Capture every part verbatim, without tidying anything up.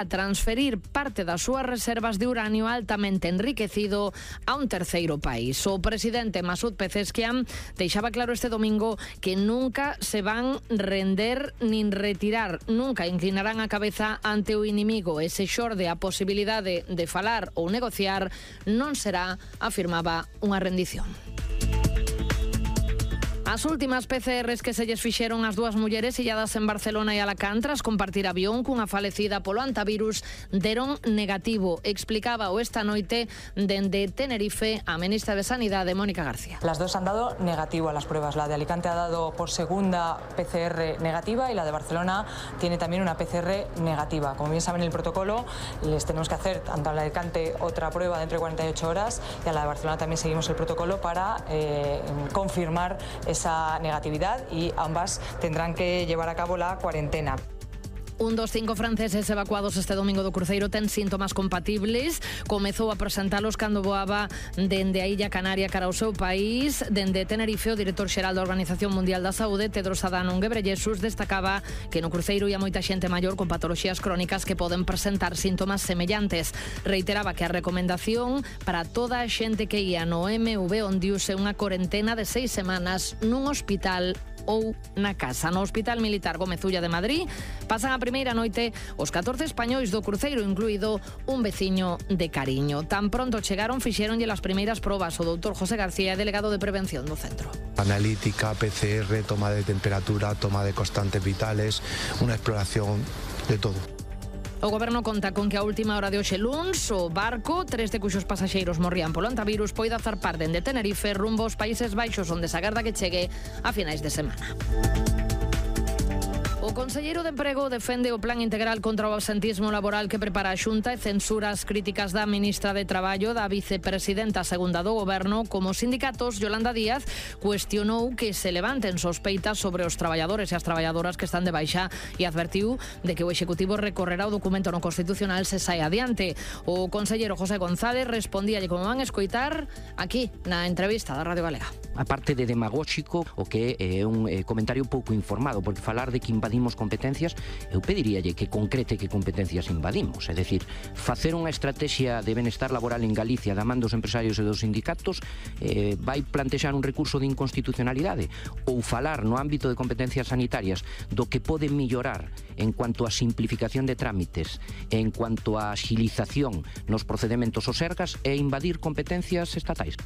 a transferir parte das súas reservas de uranio altamente enriquecido a un terceiro país. O presidente Masoud Pezeshkian deixaba claro este domingo que nunca se van render nin retirar, nunca inclinarán a cabeza ante o inimigo. Ese xorde a posibilidade de falar ou negociar non será, afirmaba, unha rendición. As últimas P C Rs que se lles fixeron as dúas mulleres illadas en Barcelona e Alacant tras compartir avión cunha falecida polo antivirus deron negativo. Explicaba o esta noite dende Tenerife a ministra de Sanidade, Mónica García. Las dos han dado negativo a las pruebas. La de Alicante ha dado por segunda P C R negativa y la de Barcelona tiene también una P C R negativa. Como bien saben el protocolo, les tenemos que hacer tanto a la de Alicante otra prueba dentro de cuarenta y ocho horas y a la de Barcelona también seguimos el protocolo para eh, confirmar esa esa negatividad y ambas tendrán que llevar a cabo la cuarentena. Un dos cinco franceses evacuados este domingo do cruceiro ten síntomas compatibles. Comezou a presentalos cando voaba dende a Illa Canaria cara ao seu país. Dende Tenerife, o director xeral da Organización Mundial da Saúde, Tedros Adhanom Ghebreyesus, destacaba que no cruceiro ia moita xente maior con patoloxías crónicas que poden presentar síntomas semellantes. Reiteraba que a recomendación para toda a xente que ia no M V Ondius é unha corentena de seis semanas nun hospital ou na casa. No Hospital Militar Gómez Ulla de Madrid pasan a primeira noite os catorce españois do cruceiro, incluído un veciño de Cariño. Tan pronto chegaron, fixéronlle as primeiras probas. O doutor José García, delegado de prevención do centro. Analítica, P C R, toma de temperatura, toma de constantes vitales, unha exploración de todo. O Goberno conta con que a última hora de hoxe luns o barco, tres de cuxos pasaxeiros morrían polo antivirus, poida zarpar dende Tenerife rumbo aos Países Baixos, onde se agarda que chegue a finais de semana. O conselleiro de Emprego defende o plan integral contra o absentismo laboral que prepara a Xunta e censura as críticas da ministra de Traballo, da vicepresidenta segunda do Goberno. Como sindicatos, Yolanda Díaz cuestionou que se levanten sospeitas sobre os traballadores e as traballadoras que están de baixa e advertiu de que o Executivo recorrerá o documento no Constitucional se sai adiante. O conselleiro José González respondíalle, como van escoitar, aquí na entrevista da Radio Galega. A parte de demagóxico, o que é un eh, comentario pouco informado, porque falar de que invadimos competencias, eu pediríalle que concrete que competencias invadimos, é dicir, facer unha estrategia de benestar laboral en Galicia da man dos empresarios e dos sindicatos eh, vai plantexar un recurso de inconstitucionalidade, ou falar no ámbito de competencias sanitarias do que pode mellorar en cuanto a simplificación de trámites, en cuanto a agilización nos procedementos ou sergas e invadir competencias estatais.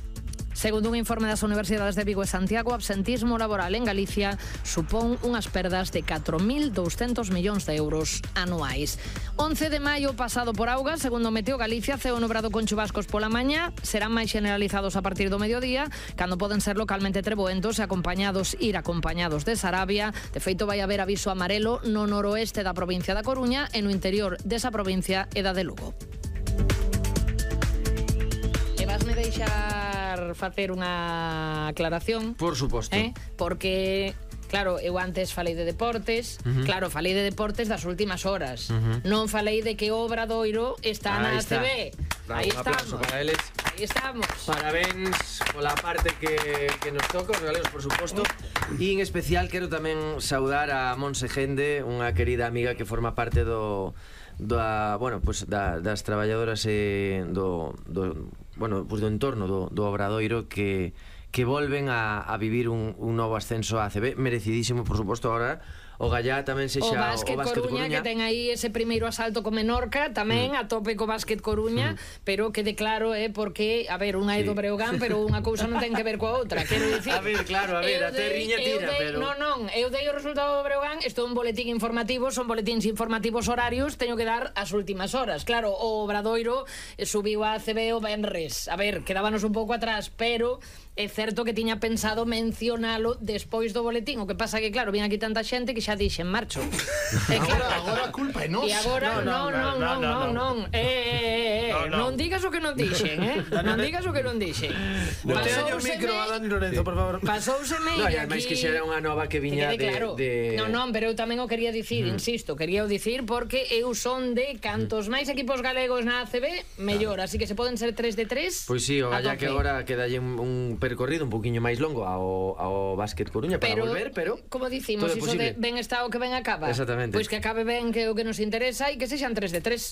Segundo un informe das Universidades de Vigo e Santiago, o absentismo laboral en Galicia supón unhas perdas de catro mil douscentos millóns de euros anuais. once de maio pasado por auga, segundo Meteo Galicia, ceo nubrado con chubascos pola mañá, serán máis generalizados a partir do mediodía, cando poden ser localmente treboentos e acompañados, ir acompañados de Sarabia. De feito, vai haber aviso amarelo no noroeste da provincia da Coruña e no interior desa provincia e da de Lugo. E vasme deixar facer unha aclaración? Por suposto. Eh? Porque, claro, eu antes falei de deportes, uh-huh. claro, falei de deportes das últimas horas. Uh-huh. Non falei de que o Obradoiro está Ahí na está. A C B. Bravo, Aí un aplauso estamos. para eles. Aí estamos. Parabéns pola parte que, que nos toca, os galegos, por suposto. E en especial quero tamén saudar a Monse Gende, unha querida amiga que forma parte do da, bueno, pues da, das traballadoras e do, do bueno, pues do entorno do, do Obradoiro que que volven a, a vivir un, un novo ascenso a A C B, merecidísimo, por suposto. Ahora o Gallá tamén sexa o Básquet, o Básquet Coruña, Coruña, que ten aí ese primeiro asalto co Menorca, tamén mm. a tope co Básquet Coruña, mm. pero quede claro, eh, porque, a ver, unha é do Breogán, pero unha cousa non ten que ver coa outra, quero dicir. A ver, claro, a ver, a terriña tira, dei, pero Non, non, eu dei o resultado do Breogán, isto é un boletín informativo, son boletíns informativos horarios, teño que dar as últimas horas. Claro, o Obradoiro subiu a A C B o venres. A ver, quedábanos un pouco atrás, pero é certo que tiña pensado mencionalo despois do boletín. O que pasa que, claro, vin aquí tanta xente que xa dixen marcho. E claro, agora a culpa é nosa. E agora, non, non, non, non, non. Eh, eh, eh, non digas o que non dixen, eh? Non digas o que non dixen. Botealle o micro a Dani Lorenzo, por favor. Pasouseme no, e ademais aquí que xa era unha nova que viña de, claro. de... Non, non, pero eu tamén o quería dicir, mm. insisto, quería o dicir porque eu son de cantos máis equipos galegos na A C B, mellor, así que se poden ser tres de tres. Pois si, o Gallá que agora quedalle un, un percorrido un poquinho máis longo ao, ao Básquet Coruña para pero, volver, pero como dicimos, iso de ven ben está o que ben acaba. Exactamente. Pois que acabe ben, que é o que nos interesa, e que sexan tres de tres.